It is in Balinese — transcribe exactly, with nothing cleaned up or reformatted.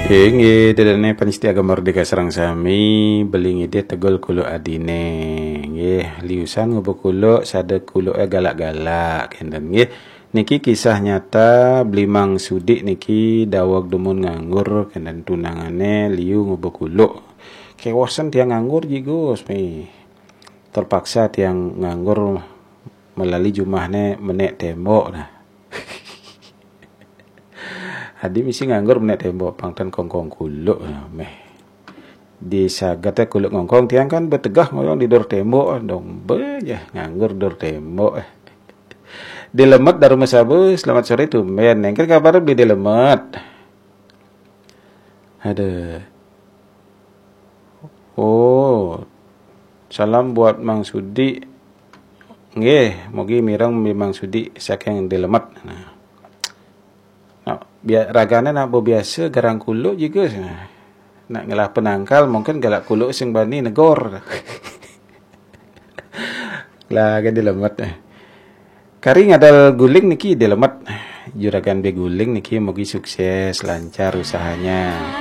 Inggih, ida dané pamiarsa Gema Merdeka sareng sami, beli ngidih tegul kuluk adine. Nggih, liusan ngubuh kuluk, sada kuluke galak-galak, kenten nggih. Niki kisah nyata, beli Mang Sudi niki daweg dumun nganggur, kenten tunangane liu ngubuh kuluk. Kewosen tiang nganggur ji, Gus, mi. Terpaksa tiang nganggur melali jumahne menek tembok nah. Adi misi nganggur menek tembok, pang ten kongkong kuluk nah, meh. Di sagate kuluk ngongkong, tiang kan betegah ngoyong di dor tembok, dong be ya nganggur dor tembok. Dilemet dari Mesabus, selamat sore tumben. Nengker kabar beli Dilemet. Ada. Oh, salam buat Mang Sudi. Nggih, mugi mireng mi Mang Sudi saking Dilemet. Nah. Nah, bia-, ragane nak bebiasa garang kuluk juga. Nah. Nak ngelah penangkal mungkin galak kuluk sing bani negor. Lah, kan Dilemet. Kari ngadal guling niki Dilemet. Juragan beguling niki mugi sukses, lancar usahanya.